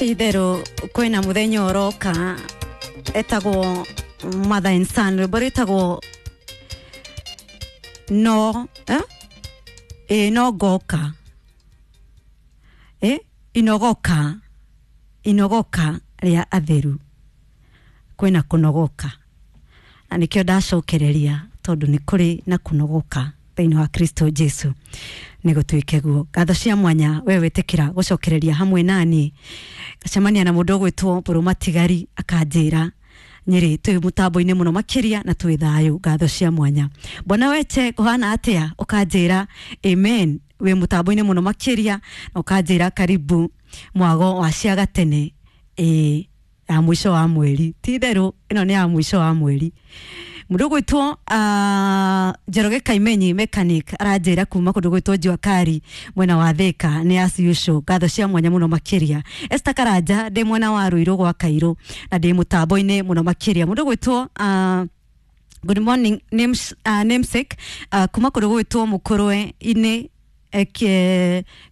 Ti itherũ kwĩna mũthenya ũroka etagwo Mother and Son, rwĩmbo rwĩtagwo no eh? Ĩ no ngoka ĩ inogoka inogoka rĩa atheru, kwĩna kũnogoka na nĩkĩo ndacokereria tondũ nĩ kũrĩ na kũnogoka thĩinĩ wa Kristo Jesu. Nĩ gũtuĩke guo. Ngatho cia mwanya we wĩtĩkĩra gũcokereria hamwe nani, ngacemania na mũndũ ũgwĩtwo Mbũrũ Matigari akanjĩra Nyĩrĩ twĩ mũtambo-inĩ mũno makĩria na twĩ thayũ. Ngatho cia mwanya. Bwana Weche kũhana atĩa? Ũkanjĩra amen, wĩ mũtambo-inĩ mũno makĩria na ũkanjĩra karibu mwago wa cia gatene ĩ ya mũico wa mweri. Ti itherũ ĩno nĩ ya mũico wa mweri. Mũndũ ũgwĩtwo Njoroge Kaimenyi mechanic aranjĩra kuma kũndũ gwĩtwo Jua Kali mwena wa Thika nĩ as usual. Ngatho cia mwanya mũno makĩria. Esther Karanja ndĩ mwena wa Ruiru gwa Kairũ na ndĩ mũtambo-inĩ mũno makĩria. Mũndũ ũgwĩtwo good morning namesake kuma kũndũ gwĩtwo Mũkũrwe-inĩ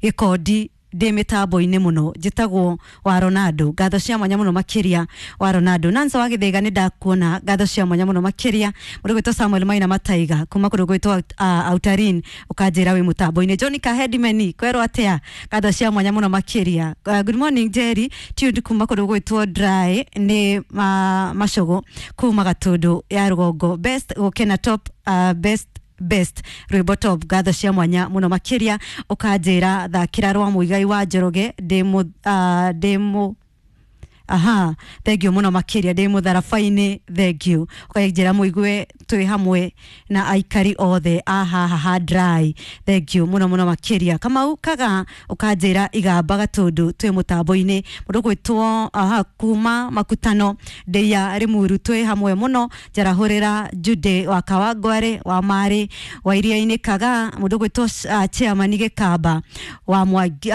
Gĩkondi ndĩ mĩtambo-inĩ mũno, njĩtagwo wa Ronaldo. Ngatho cia mwanya mũno makĩria wa Ronaldo. Nancy wa Gĩthĩga nĩ ndakuona, ngatho cia mwanya mũno makĩria. Mũndũ gwĩtwo Samuel Maina Mataiga kuma kũndũ gwĩtwo Autarin ũkanjĩra wĩ mũtambo-inĩ. John Kahedimeni kwerwo atĩa? Ngatho cia mwanya mũno makĩria. Good morning Jerry tuned kuma kũndũ gwĩtwo Dry nĩ Macũgũ kuma Gatũndũ ya rũgongo. Best gũkena top best best rwĩmbo top. Ngatho cia mwanya mũno makĩria. Ũkanjĩra thakĩra rwa Mũigai wa Njoroge ndĩ mũ aha, thank you mũno makĩria, ndĩ mũtharaba-inĩ, thank you. Ũkanjĩra mũigue twĩ hamwe na aikari othe a haha ha Dry, thank you mũno mũno makĩria. Kamau Kaga ũkanjĩra igamba Gatũndũ twĩ mũtambo-inĩ. Mũndũ gwĩtwo aha kuma Makutano ndĩia Rimuru twĩ hamwe mũno. Njarahũrĩra Jude wa Kawangware wa Marĩ wa Iria-inĩ Kaga. Mũndũ gwĩtwo chairman Gĩkamba wa Mwangi,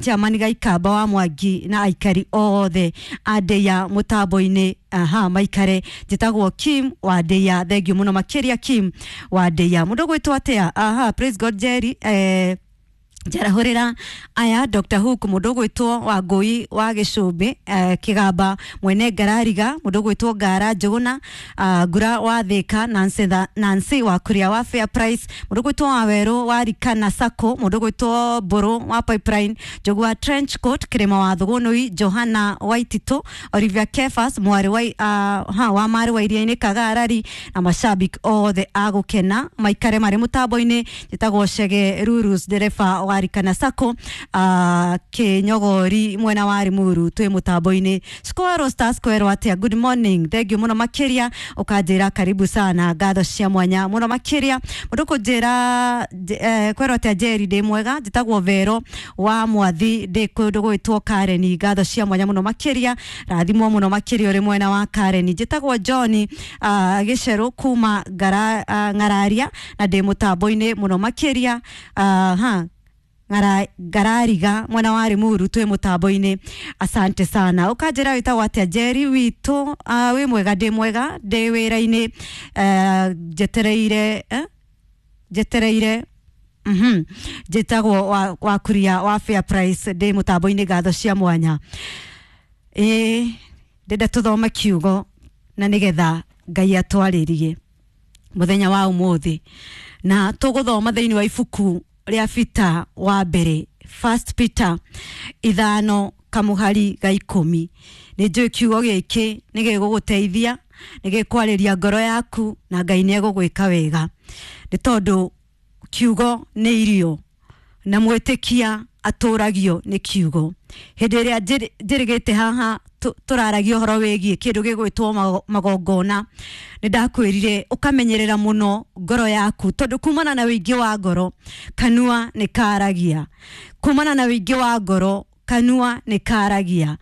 chairman Gaikamba wa Mwangi na aikari othe a ndĩia mũtambo-inĩ aha maikare. Njĩtagwo Kim wa ndĩia, thank you mũno makĩria Kim wa ndĩia. Mũndũ gwĩtwo atĩa? Aha, praise God Jerry, njarahũrĩra aya Dr. Hook, mũndũ ũgwĩtwo Wangũi wa Gĩcũmbĩ Kĩgamba mwene Ngarariga, mũndũ ũgwĩtwo Ngara Njũgũna Ngura wa Thĩka, Nancy, Nancy wa Kuria wa Fair Price, mũndũ ũgwĩtwo Wawerũ wa Rikana Sacco, mũndũ ũgwĩtwo Mbũrũ wa Pipeline, Njogu wa Trench Coat, Kĩrĩma wa Thũgũnũi, Johana Waititũ, Olivia Kefas mwarĩ wa, ha, wa Marĩ wa Iria-inĩ Kagarari na mashabiki othe a gũkena maikare marĩ mũtambo-inĩ. Njĩtagwo Chege Rurus ndereba wa Rikana Sacco Kĩnyogori mwena wa Limuru twĩ mũtambo-inĩ. Square Stars kwerwo atĩa? Good morning, thank you mũno makĩria. Ũkanjĩra karibu sana, ngatho cia mwanya mũno makĩria. Mũndũ kũnjĩra kwerwo atĩa Jerry, ndĩ mwega, njĩtagwo Vero wa Mwathi ndĩ kũndũ gwĩtwo Karen, ngatho cia mwanya mũno makĩria, rathimwo mũno makĩria ũrĩ mwena wa Karen. Njĩtagwo John Gĩcerũ kuma Ng'araria na ndĩ mũtambo-inĩ mũno makĩria. Ha Ngarariga mwena wa Limuru twĩ mũtambo-inĩ, asante sana. Ũkanjĩra wĩtagwo atĩa Jerry witũ? Wĩ mwega? Ndĩ mwega, ndĩ wĩra-inĩ njetereire njetereire njĩtagwo wa Kuria wa Fair Price, ndĩ mũtambo-inĩ, ngatho cia mwanya. Ĩĩ ndĩrenda tũthome kiugo na nĩgetha Ngai atwarĩrie mũthenya wa ũmũthĩ, na tũgũthoma thĩinĩ wa ibuku rĩa Peter wa mbere, First Peter 5 kamũhari ga 10. Nĩ njũĩ kiugo gĩkĩ nĩ gĩgũgũteithia, nĩ gĩkwarĩria ngoro yaku na Ngai nĩ egũgwĩka wega, nĩ tondũ kiugo nĩ irio na mwĩtĩkia atũragio nĩ kiugo. Hĩndĩ ĩrĩa njĩrĩgĩte haha tũraragia ũhoro wĩgiĩ kĩndũ gĩgwĩtwo magongona, nĩ ndakwĩrire ũkamenyerera mũno ngoro yaku, tondũ kumana na wĩingĩ wa ngoro kanua nĩ karagia. Kumana na wĩingĩ wa ngoro kanua nĩ karagia,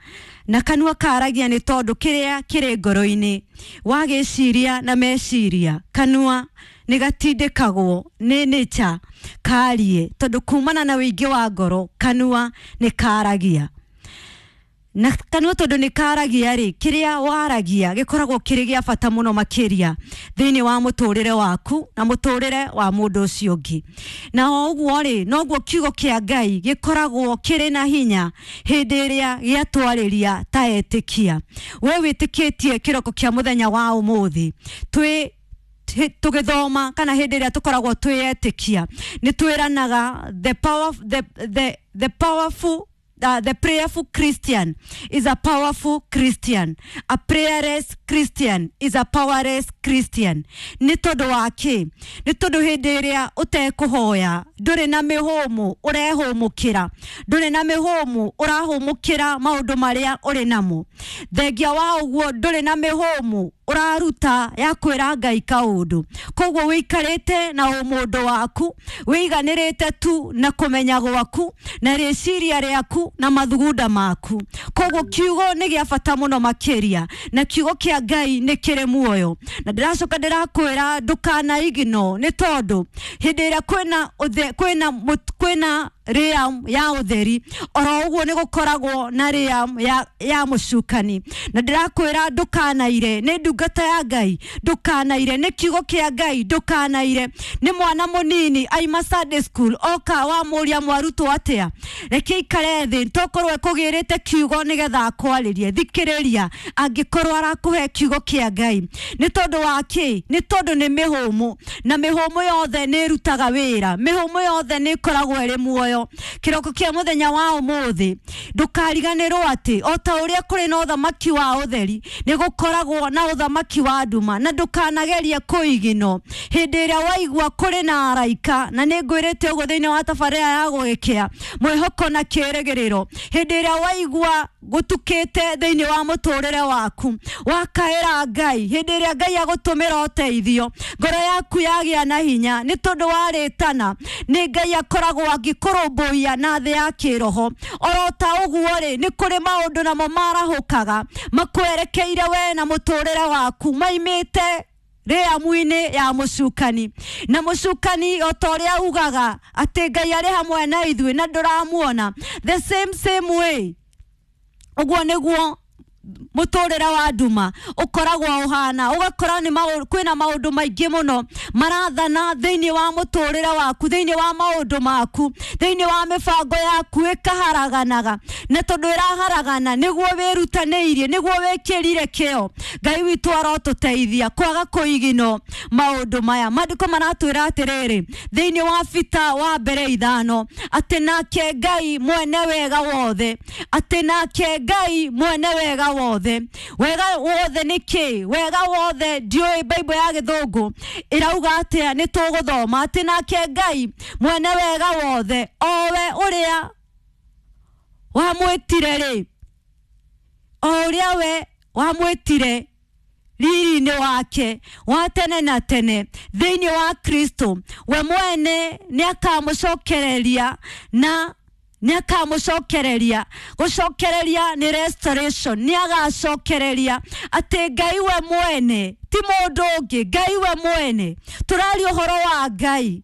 na kanua karagia nĩ tondũ kĩrĩa kĩrĩ ngoro-inĩ wagĩciria na meciria, kanua nĩ gatindĩkagwo nĩ nature karie, tondũ kumana na wĩingĩ wa ngoro kanua nĩ karagia. Na kanua tondu nĩ karagia rĩ, kĩrĩa waragia gĩkoragwo kĩrĩ gĩa bata mũno makĩria thĩinĩ wa mũtũrĩre waku na mũtũrĩre wa mũndũ ũcio ũngĩ. Na o ũguo rĩ, noguo kiugo kĩa Ngai gĩkoragwo kĩrĩ na hinya hĩndĩ ĩrĩa gĩatwarĩria ta etĩkia. We wĩtĩkĩtie kĩroko kĩa mũthenya wa ũmũthĩ twĩ tũgĩthoma kana hĩndĩ ĩrĩa tũkoragwo twĩetĩkia nĩ twĩranaga the power, the powerful the prayerful Christian is a powerful Christian. A prayerless Christian is a powerless Christian. Nĩ tondũ wa kĩ? Nĩ tondũ hĩndĩ ĩrĩa ũtekũhoya ndũrĩ na mĩhũmũ ũrehũmũkĩra, ndũrĩ na mĩhũmũ ũrahũmũkĩra maũndũ marĩa ũrĩ namo. Thengia wa ũguo ndũrĩ na mĩhũmũ ũraruta ya kwĩra Ngai kaũndũ. Koguo wĩikarĩte na ũmũndũ waku, wĩiganĩrĩte tu na kũmenya gwaku na rĩciria rĩaku na mathugunda maku. Koguo kiugo nĩ gĩa bata mũno makĩria, na kiugo kĩa Ngai nĩ kĩrĩ muoyo. Na ndĩracoka ndĩrakwĩra ndũkana ignore, nĩ tondũ hĩndĩ ĩrĩa kwĩna realm ya ũtheri, oro ũguo nĩ gũkoragwo na realm ya mũcukani. Na ndĩrakwĩra ndũkanaire, nĩ ndungata ya Ngai, ndũkanaire, nĩ kiugo kĩa Ngai, ndũkanaire. Nĩ mwana mũnini aima Sunday school oka wamũria mwarutwo atĩa, reke ikare thĩ tokorwo ekũgĩrĩte kiugo nĩgetha akwarĩrie. Thikĩrĩria angĩkorwo arakũhe kiugo kĩa Ngai. Nĩ tondũ wa kĩ? Nĩ tondũ nĩ mĩhũmũ, na mĩhũmũ yothe nĩ ĩrutaga wĩra, mĩhũmũ yothe nĩ ĩkoragwo ĩrĩ muoyo. Kĩroko kĩa mũthenya wa ũmũthĩ ndũkariganĩrwo atĩ o ta ũrĩa kũrĩ na ũthamaki wa ũtheri nĩ gũkoragwo na ũthamaki wa nduma, na ndũkanagerie kũigino hĩndĩ ĩrĩa waigua kũrĩ na araika. Na nĩ ngwĩrĩte ũguo thĩinĩ wa tabarĩra ya gũgĩkĩa mwĩhoko na kĩĩrĩgĩrĩro, hĩndĩ ĩrĩa waigua gũtukĩte thĩinĩ wa mũtũrĩre waku wakaĩra Ngai, hĩndĩ ĩrĩa Ngai agũtũmĩra ũteithio, ngoro yaku yagĩa na hinya nĩ tondũ warĩtana nĩ Ngai akoragwo angĩkũrũmbũiya na thĩ ya kĩroho. Oro ta ũguo rĩ, nĩ kũrĩ maũndũ namo marahũkaga makwerekeire we na mũtũrĩre waku maimĩte rĩamu-inĩ ya mũcukani. Na mũcukani o ta ũrĩa ugaga atĩ Ngai arĩ hamwe na ithuĩ na ndũramuona, the same way ũguo nĩguo mũtũrĩre wa nduma ũkoragwo ũhana. Ũgakora nĩ kwĩna maũndũ maingĩ mũno marathana thĩinĩ wa mũtũrĩre waku, thĩinĩ wa maũndũ maku, thĩinĩ wa mĩbango yaku ĩkaharaganaga. Na tondũ ĩraharagana nĩguo wĩrutanĩirie, nĩguo wĩkĩrire kĩo. Ngai witũ arotũteithia kwaga kũigino maũndũ maya. Maandĩko maratwĩra atĩrĩrĩ thĩinĩ wa Bita wa mbere 5 atĩ nake Ngai mwene wega wothe, atĩ nake Ngai mwene wega wothe. Wega wothe nĩ kĩ? Wega wothe ndiũĩ Bible ya gĩthũngũ ĩrauga atĩa, nĩ tũgũthoma atĩ nake Ngai mwene wega wothe, o we ũrĩa wamwĩtire rĩ, o ũrĩa we wamwĩtire riri-inĩ wake wa tene na tene thĩinĩ wa Kristo, we mwene nĩ akamũcokereria na nĩ akamũcokereria. Gũcokereria nĩ restoration, nĩ agacokereria atĩ Ngai we mwene, ti mũndũ ũngĩ, Ngai we mwene. Tũraria ũhoro wa Ngai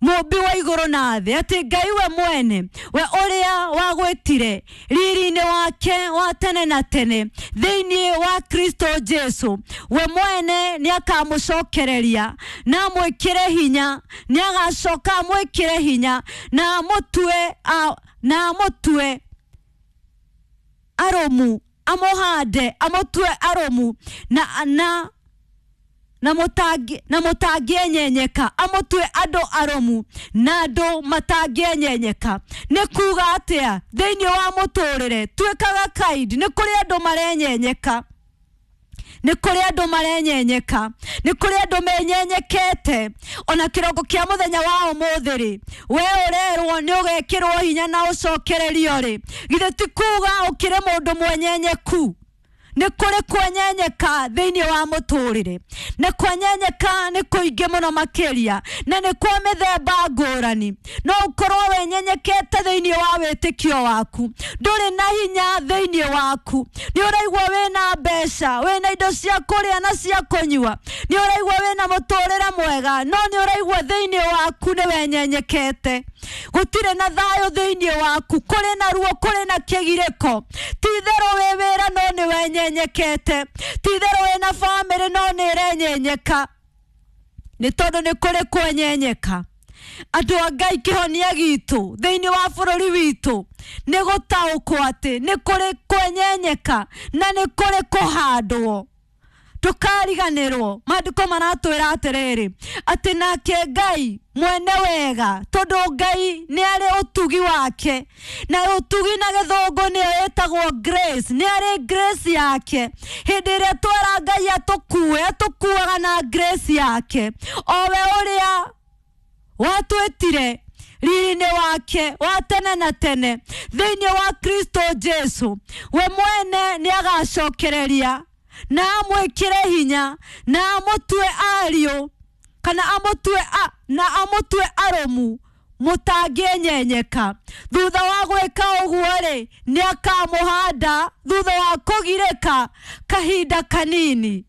mũmbi wa igũrũ na thĩ, atĩ Ngai we mwene, we ũrĩa wagwĩtire riri-inĩ wake wa tene na tene thĩinĩ wa Kristo Jesu, we mwene nĩ akamũcokereria na amwĩkĩre hinya, nĩ agacoka amwĩkĩre hinya na amũtue arũmu, amũhande, amũtue arũmu na mũtangĩenyenyeka, amũtue andũ arũmu na andũ matangĩenyenyeka. Nĩ kuga atĩa thĩinĩ wa mũtũrĩre tuĩkaga kind, nĩ kũrĩ andũ marenyenyeka, nĩ kũrĩ andũ marenyenyeka, nĩ kũrĩ andũ menyenyekete. Ona kĩroko kĩa mũthenya wa ũmũthĩ rĩ, we ũrerwo nĩ ũgekĩrwo hinya na ũcokererio rĩ, githĩ ti kuga ũkĩrĩ mũndũ mwenyenyeku? Nĩ kũrĩ kwenyenyeka thĩinĩ wa mũtũrĩre, na kwenyenyeka nĩ kũingĩ mũno makĩria, na nĩ kwa mĩthemba ngũrani. No ũkorwo wenyenyekete thĩinĩ wa wĩtĩkio waku, ndũrĩ na hinya thĩinĩ waku, nĩ ũraigua wĩna mbeca, wĩna indo cia kũrĩa na cia kũnyua, nĩ ũraigua wĩna mũtũrĩre mwega, no nĩ ũraigua thĩinĩ waku nĩ wenyenyekete. Gũtirĩ na thayũ thĩinĩ waku, kũrĩ na ruo, kũrĩ na kĩgirĩko. Ti itherũ wĩ wĩra no nĩ wenyenyekete, ti itherũ wĩna bamĩrĩ no nĩ ĩrenyenyeka, nĩ tondũ nĩ kũrĩ kwenyenyeka. Andũ a Ngai, kĩhonia gitũ thĩinĩ wa bũrũri witũ nĩ gũtaũkwo atĩ nĩ kũrĩ kwenyenyeka na nĩ kũrĩ kũhandwo. Ndũkariganĩrwo, maandĩko maratwĩra atĩrĩrĩ, atĩ nake Ngai mwene wega, tondũ Ngai nĩ arĩ ũtugi wake, na ũtugi na gĩthũngũ nĩyo ĩtagwo grace, nĩ arĩ grace yake. Hĩndĩ ĩrĩa twera Ngai atũkue, atũkuaga na grace yake, o we ũrĩa watwĩtire riri-inĩ wake wa tene na tene thĩinĩ wa Kristo Jesu. We mwene nĩ agacokereria na amwĩkĩre hinya na amũtue ariũ, kana amũtue na amũtue arũmu mũtangĩenyenyeka. Thutha wa gwĩka ũguo-rĩ, nĩ akamũhanda thutha wa kũgirĩka kahinda kanini.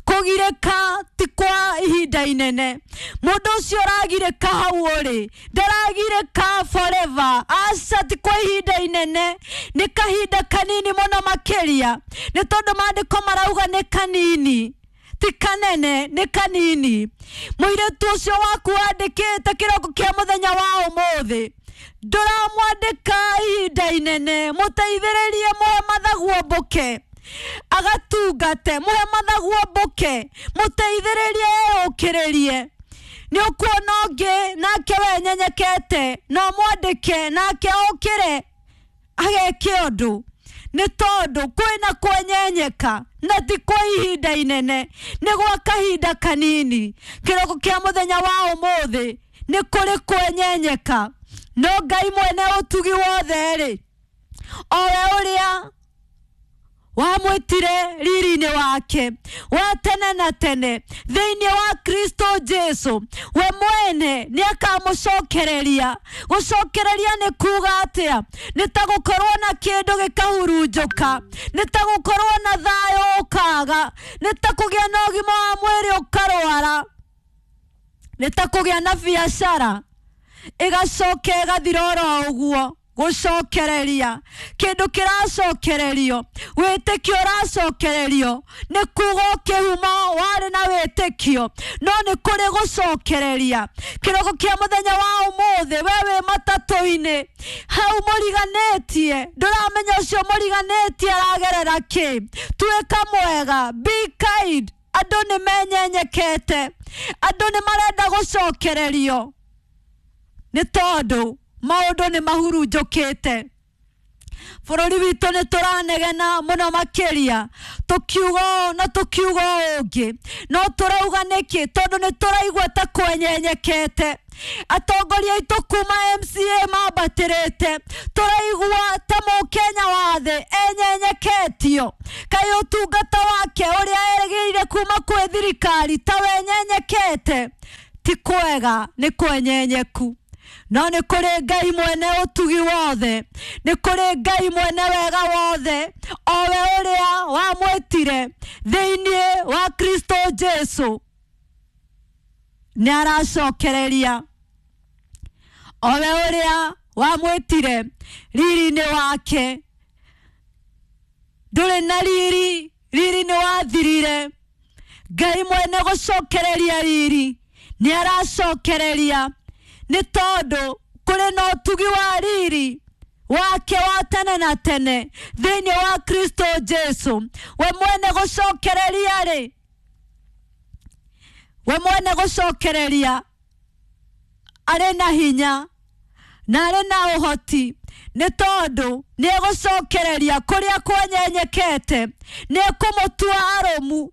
Kũgirĩka ti kwa ihinda inene. Mũndũ ũcio ũragirĩka hau ũrĩ ndaragirĩka forever, aca, ti kwa ihinda inene, nĩ kahinda kanini mũno makĩria, nĩ tondũ maandĩko marauga nĩ kanini, ti kanene, nĩ kanini. Mũirĩtu ũcio waku wandĩkĩte kĩroko kĩa mũthenya wa ũmũthĩ, ndũramwandĩka ihinda inene, mũteithĩrĩrie, mũhe mathaguo mbũke agatungate, mũhe mathaguo mbũke, mũteithĩrĩrie eyũkĩrĩrie. Nĩ ũkuona ũngĩ nake wenyenyekete, no mwandĩke nake okĩre ageke ũndũ, nĩ tondũ kwĩna kwenyenyeka na ti kwa ihinda inene, nĩ gwa kahinda kanini. Kĩroko kĩa mũthenya wa ũmũthĩ nĩ kũrĩ kwenyenyeka, no Ngai mwene ũtugi wothe-rĩ, o we ũrĩa wamwĩtire riri-inĩ wake wa tene na tene thĩinĩ wa Kristo Jesu, we mwene nĩ akamũcokereria. Gũcokereria nĩ kuga atĩa? Nĩ ta gũkorwo na kĩndũ gĩkahurunjũka, nĩ ta gũkorwo na thayũ ũkaga, nĩ ta kũgĩa na ũgima wa mwĩrĩ ũkarwara, nĩ ta kũgĩa na biacara ĩgacoka ĩgathira oro ũguo. Gũcokereria, kĩndũ kĩracokererio, wĩtĩkio ũracokererio, nĩ kuga ũkĩhuma warĩ na wĩtĩkio, no nĩ kũrĩ gũcokereria. Kĩroko kĩa mũthenya wa ũmũthĩ, we wĩ matatũ-inĩ hau mũriganĩtie, ndũramenya ũcio mũriganĩtie aragerera kĩ. Tuĩka mwega, be kind. Andũ nĩ menyenyekete, andũ nĩ marenda gũcokererio, nĩ tondũ maũndũ nĩ mahurunjũkĩte. Bũrũri witũ nĩ tũranegena mũno makĩria, tũkiuga ũũ na tũkiuga ũũ ũngĩ, no tũrauga nĩkĩ? Tondũ nĩ tũraigua ta kwenyenyekete. Atongoria aitũ kuma MCA mambatĩrĩte, tũraigua ta mũkenya wa thĩ enyenyeketio. Kaĩ ũtungata wake ũrĩa erĩgĩrĩire kuma kwĩ thirikari ta wenyenyekete? Ti kwega, nĩ kwenyenyeku. No nĩ kũrĩ Ngai mwene ũtugi wothe, nĩ kũrĩ Ngai mwene wega wothe, o we ũrĩa wamwĩtire thĩinĩ wa Kristo Jesu, nĩ aracokereria. O we ũrĩa wamwĩtire riri-inĩ wake, ndũrĩ na riri, riri nĩ wathirire. Ngai mwene gũcokereria riri nĩ aracokereria, nĩ tondũ kũrĩ na ũtugi wa riri wake wa tene na tene thĩinĩ wa Kristo Jesu. We mwene gũcokereria rĩ, we mwene gũcokereria arĩ na hinya na arĩ na ũhoti, nĩ tondũ nĩ egũcokereria kũrĩa kwenyenyekete, nĩ ekũmũtua arũmu.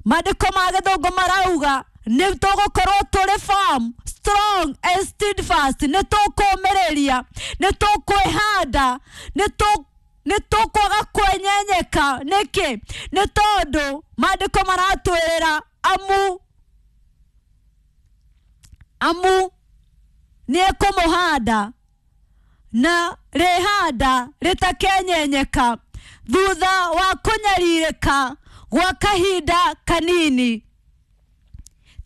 Maandĩko ma gĩthũngũ marauga nĩ tũgũkorwo tũrĩ firm, strong and steadfast, nĩ tũkũmĩrĩria, nĩ tũkwĩhanda, nĩ tũkwaga kwenyenyeka. Nĩkĩ? Nĩ tondũ maandĩko maratwĩrĩra amu nĩ ekũmũhanda na rĩhanda rĩtakenyenyeka thutha wa kũnyarirĩka gwa kahinda kanini,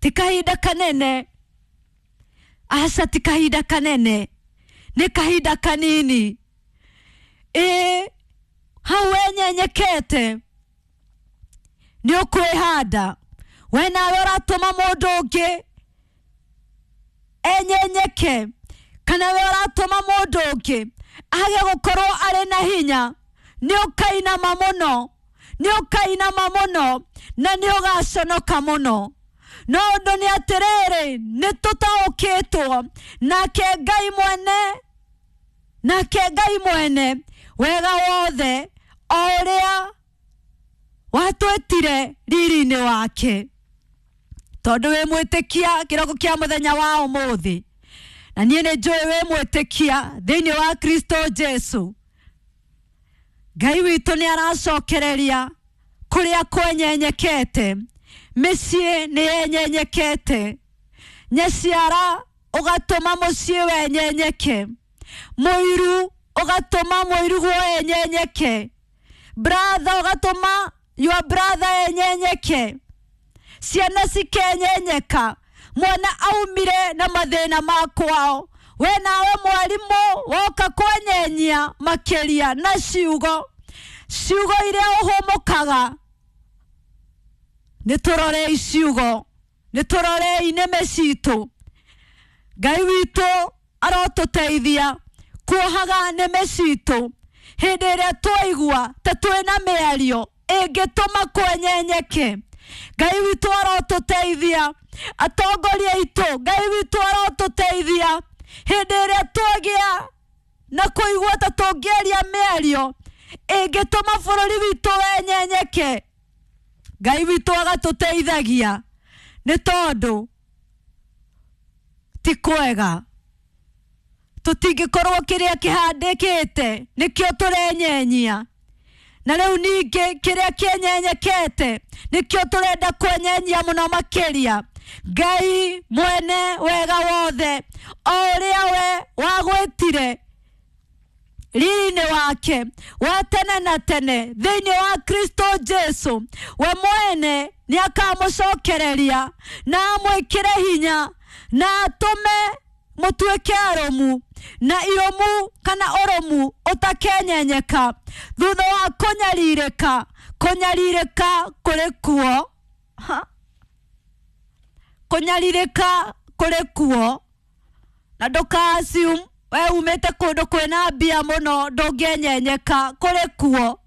ti kahinda kanene. Aca ti kahinda kanene, nĩ kahinda kanini. Ĩ hau wenyenyekete nĩ ũkwĩhanda, we nawe ũratũma mũndũ ũngĩ enyenyeke, kana we ũratũma mũndũ ũngĩ age gũkorwo arĩ na hinya. Nĩ ũkainama mũno, nĩ ũkainama mũno, na nĩ ũgaconoka mũno. No ũndũ nĩ atĩrĩrĩ, nĩ tũtaũkĩtwo nake Ngai mwene, nake Ngai mwene wega wothe o ũrĩa watwĩtire riri-inĩ wake. Tondũ wĩ mwĩtĩkia kĩroko kĩa mũthenya wa ũmũthĩ, na niĩ nĩ njũĩ wĩ mwĩtĩkia thĩinĩ wa Kristo Jesu, Ngai witũ nĩ aracokereria kũrĩa kwenyenyekete. Mĩciĩ nĩ yenyenyekete, nyaciara ũgatũma mũciĩ wenyenyeke, mũiru ũgatũma mũiru guo enyenyeke, brother ũgatũma your brother enyenyeke, ciana cikenyenyeka, mwana aumire na mathĩna ma kwao, we nawe mwarimũ woka kwenyenyia makĩria na ciugo, ciugo iria ũhũmũkaga. Nĩ tũrorei ciugo, nĩ tũrorei nĩmĩ citũ. Ngai witũ arotũteithia kuohaga nĩmĩ citũ hĩndĩ ĩrĩa twaigua ta twĩna mĩario ĩngĩtũma kwenyenyeke. Ngai witũ arotũteithia, atongoria aitũ, Ngai witũ arotũteithia hĩndĩ ĩrĩa twagĩa na kũigua ta tũngĩaria mĩario ĩngĩtũma bũrũri witũ wenyenyeke. Ngai witũ agatũteithagia, nĩ tondũ ti kwega tũtingĩkorwo kĩrĩa kĩhandĩkĩte nĩkĩo tũrenyenyia, na rĩu ningĩ kĩrĩa kĩenyenyekete nĩkĩo tũrenda kwenyenyia mũno makĩria. Ngai mwene wega wothe o ũrĩa we wagwĩtire riri-inĩ wake wa tene na tene thĩinĩ wa Kristo Jesu, we mwene nĩ akamũcokereria na amwĩkĩre hinya na atũme mũtuĩke arũmu, na irũmu kana ũrũmu ũtakenyenyeka thutha wa kũnyarirĩka. Kũnyarirĩka kũrĩ kuo, kũnyarirĩka kũrĩ kuo, na ndũka assume we umĩte kũndũ kwĩna mbia mũno ndũngĩenyenyeka. Kũrĩ kuo.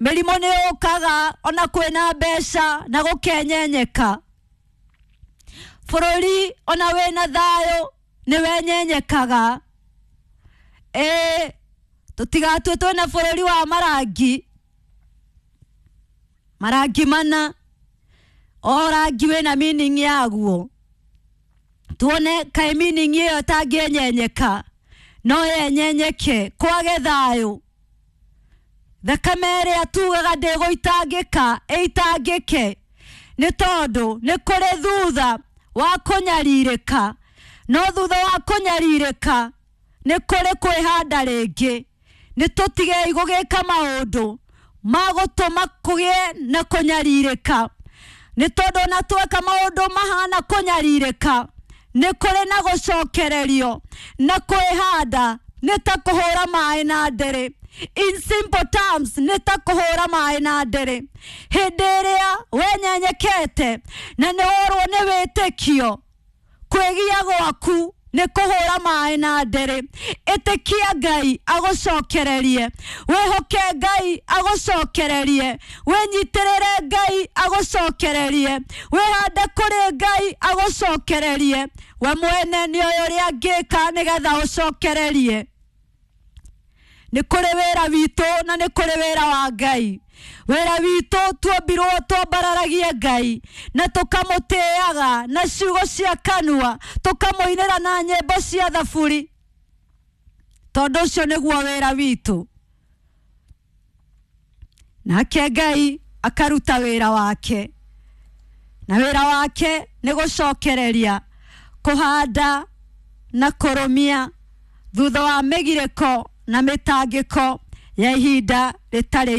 Mĩrimũ nĩ yũkaga ona kwĩna mbeca na gũkenyenyeka. Bũrũri ona wĩna thayũ nĩ wenyenyekaga. Ĩ tũtigatue twĩna bũrũri wa marangi, marangi mana, o rangi wĩna meaning yaguo. Tuone kaĩ meaning ĩyo ĩtangĩenyenyeka no yenyenyeke kwage thayũ. Thakame ĩrĩa tugaga ndĩgũitangĩka ĩitangĩke, nĩ tondũ nĩ kũrĩ thutha wa kũnyarirĩka, no thutha wa kũnyarirĩka nĩ kũrĩ kwĩhanda rĩngĩ. Nĩ tũtigei gũgĩka maũndũ ma gũtũma kũgĩe na kũnyarirĩka, nĩ tondũ ona tweka maũndũ mahana kũnyarirĩka nĩ kũrĩ na gũcokererio na kwĩhanda. Nĩ ta kũhũra maĩ na ndĩrĩ. In simple terms, nĩ ta kũhũra maĩ na ndĩrĩ. Hĩndĩ ĩrĩa wenyenyekete na nĩ worwo nĩ wĩtĩkio, kwĩgia gwaku nĩ kũhũra maĩ na ndĩrĩ. Ĩtĩkia Ngai agũcokererie, wĩhoke Ngai agũcokererie, wĩnyitĩrĩre Ngai agũcokererie, wĩhande kũrĩ Ngai agũcokererie. We mwene nĩ oĩ ũrĩa angĩka nĩgetha ũcokererie. Nĩ kũrĩ wĩra witũ na nĩ kũrĩ wĩra wa Ngai. Wĩra witũ tuombirwo twambararagie Ngai na tũkamũtĩaga na ciugo cia kanua, tũkamũinĩra na nyĩmbo cia thaburi, tondũ ũcio nĩguo wĩra witũ. Nake Ngai akaruta wĩra wake, na wĩra wake nĩ gũcokereria, kũhanda na kũrũmia thutha wa mĩgirĩko na mĩtangĩko ya ihinda rĩtarĩ